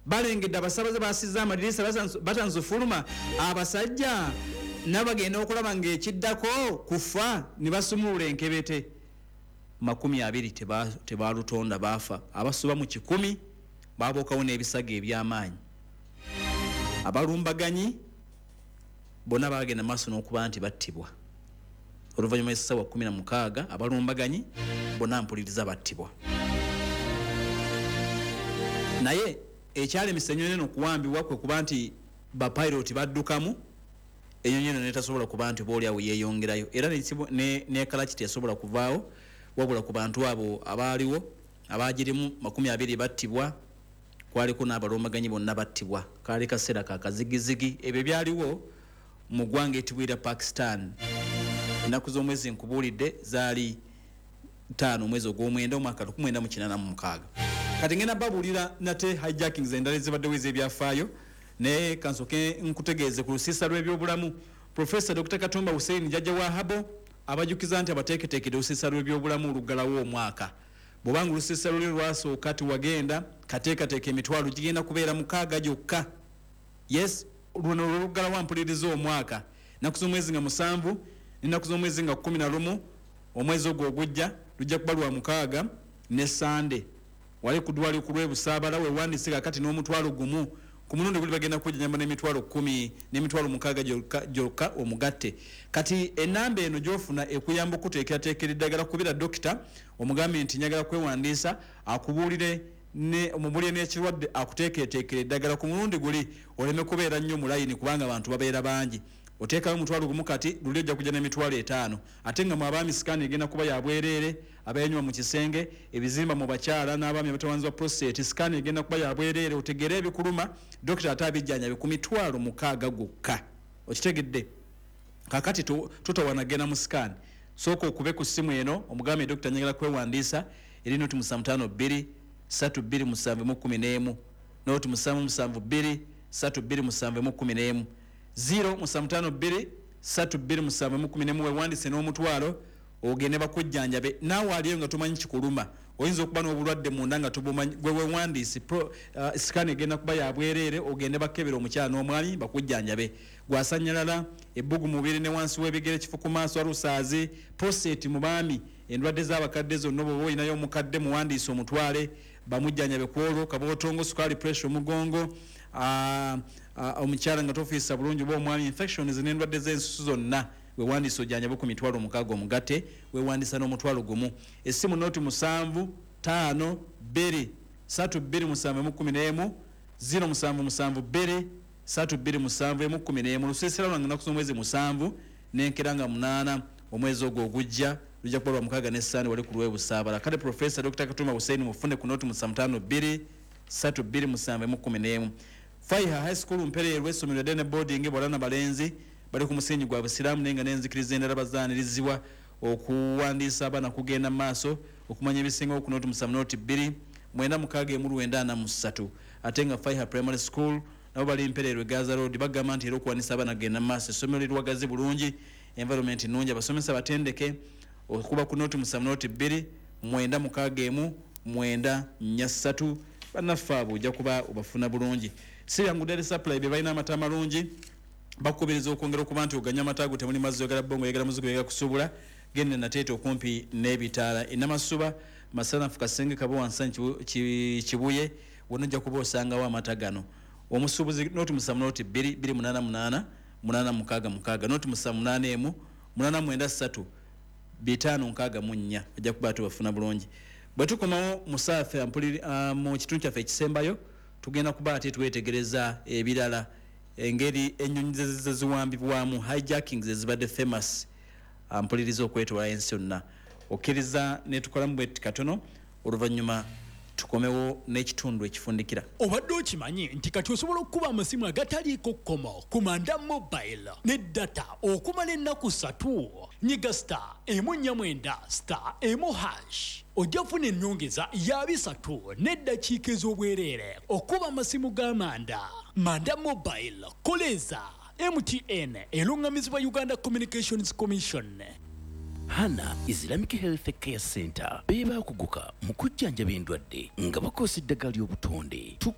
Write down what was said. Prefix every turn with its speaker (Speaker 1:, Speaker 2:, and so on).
Speaker 1: Balengedde abasabaze basiza amadirisa, batandise ofuluma. Abasajja nabagenda okulaba ngaekiddako kufa ne basumulula enkebete. 20 tebalutonda baafa. Abasoba mu 100 babuukawo n'ebisago eby'amaanyi. Abalumbaganyi bonna bagenda maaso n'okuba nti battibwa oluvannyuma lw'essaawa 16. Abalumbaganyi bonna, mpuliriza, battibwa. Naye ekyalemesa ennyonyi eno okuwambibwa kwe kuba nti bapiloti baddukamu, enyonyi eno netasobola kuba nti oba oliawo yeyongerayo, era ne Karachi teyasobola kuvaawo. Wabula ku bantu abo abaaliwo abagirimu, 20 battibwa, kwaliko n'abalumbaganyi bonna battibwa. Kaali kaseera ka kazigizigi. Ebyo byaliwo mu ggwanga etibwira Pakistan. Ennaku z'omwezi nkubuulidde, zaali 5 omwezi ogw'omwenda omwaka 1986. Kati ngenda babuulira nate hijackings endala ezibaddewo ez'ebyafaayo, naye kansooke nkutegeeze ku lusiisa lw'ebyobulamu. Profesa Dr Katumba Hussein, jjajja wa Habo, abajukiza nti abateeketeekedde olusiisa lw'ebyobulamu oluggalawo omwaka. Bw'obanga olusiisa luli lwasooka tiwagenda, kateekateeka, emitwalo gigenda kubeera 6 gyokka. Yes, luno lwoluggalawo, mpuliriza, omwaka, ennaku z'omwezi nga 7 n'ennaku z'omwezi nga 11 omwezi ogwo ogujja. Lujja kuba lwa mukaaga ne Sande, wali ku ddwaliro ku lw'Ebusaabala. Wewandiise kakati n'omutwalo gumu. Ku mulundi guli bagenda kujjanjaba n'emitwalo 10, n'emitwalo 6 gyokka omugatte. Kati enamba eno gyofuna ekuyamba okuteekerateekera eddagala. Kubira dokita omugambe nti njagala kwewandiisa, akubuulire omubulire n'ekirwadde, akuteekereteekera eddagala ku mulundi guli, oleme kubeera nnyo mu layini kubanga abantu babeera bangi. Oteekayo omutwalo gumu kati, luli ojja kujja n'emitwalo 50. Ate nga mu abaami scan egenda kuba ya bwereere. Abenywa mu kisenge, ebizimba mu bakyala n'abaami abatawanzibwa prostate, scan egenda kuba ya bwereere, otegere ebikuluma, dokita ate abijjanjabe ku mitwalo 6 gwokka. Okitegedde? Kakati totawana genda mu scan. Sooka okube ku ssimu eno omugambe, "Dokita, njagala kwewandiisa." Eri 0752 327 mu 11, 0772 327 mu 11, 0752 327 mu 11. Wewandiise n'omutwalo ogende bakujjanjabe. Naawe aliyo nga tomanyi kikuluma, oyinza okuba n'obulwadde munda nga tobumanyi. Gwe wewandiise, scan egenda kuba ya bwereere, ogende bakebera omukyala n'omwami bakujjanjabe. Gwasanyalala, ebbugu mubiri ne wansi w'ebigere, kifu ku maaso, alusaazi, prostate mu baami, endwadde z'abakadde zonna, oba olinayo omukadde, muwandiise omutwale bamujjanjabe ku olwo. Kabootongo, sukaali, pressure, omugongo, omukyala nga tofiisa bulungi oba omwami, infections n'endwadde z'ensusu zonna, wewandiisa ojjanjabe ku mitwalo 6 omugatte. Wewandiisa n'omutwalo gumu. Essimu 0752 327 mu 11, 0772 327 emu 11. Lusiisira lwange ennaku z'omwezi 7 n'enkera nga 8 omwezi ogwo ogujja, lujja kuba lwa mukaaga ne Sande, wali ku lw'Ebusaabala. Kale Profesa Dr Katumba Hussein mufune ku 0752 327 emu 11. Faiha High School Mpereerwe, essomero ddene, boarding, bawala na balenzi, bali ku musingi gwa Busiraamu naye nga n'enzikiriza endala bazaanirizibwa. Okuwandiisa abaana kugenda mu maaso. Okumanya ebisingawo ku 070 02 961 943. Ate nga Faiha Primary School nabo bali Mpereerwe, Gaza Road. Bagamba nti era okuwandiisa abaana kugenda mu maaso. Essomero liriwagazi bulungi, environment nnungi, abasomesa batendeke. Okuba ku 070 2 961 943. Bannaffe abo ojja kuba obafuna bulungi. Si byangu Dairy Supply be balina amata amalungi. Bakukubiriza okwongera okuba nti oganya amata ago temuli mazzi. Oyagala bongo, oyagala muzigo, oyagala kusuubula, genda Nateete okumpi n'ebitaala, Enamasuba, Masanafu, Kasenge, Kabo, Wansanyi, Kibuye, wonna ojja kuba osangawo amata gano. Omusuubuzi 070 2 288 866, 0781 893 564. Ojja kuba tubafuna bulungi. Bwe tukomawo musaafe mu kitundu kyaffe ekisembayo, tugenda kuba ate twetegereza ebirala, engeri ennyonyi zeziwambibwamu, hijackings ezibadde famous, mpuliriza, okwetoola ensi yonna. Okkiriza netukolamu bwetti katono, oluvannyuma tukomewo n'ekitundu ekifundikira.
Speaker 2: Obadde okimanyi nti kati osobola okukuba amasimu agataliiko kkomo ku Manda Mobile ne data okumala ennaku 3? Nyiga *149*1# ojja kufuna ennyongeza ya 300 n'eddakiika ez'obwereere okuba amasimu ga Manda. Manda Mobile, koleeza MTN. Eruŋŋamizibwa Uganda Communications Commission.
Speaker 3: Hana Islamic Health Care Center be baakuguka mu kujjanjaba endwadde nga bakozesa eddagala ly'obutonde. Tukola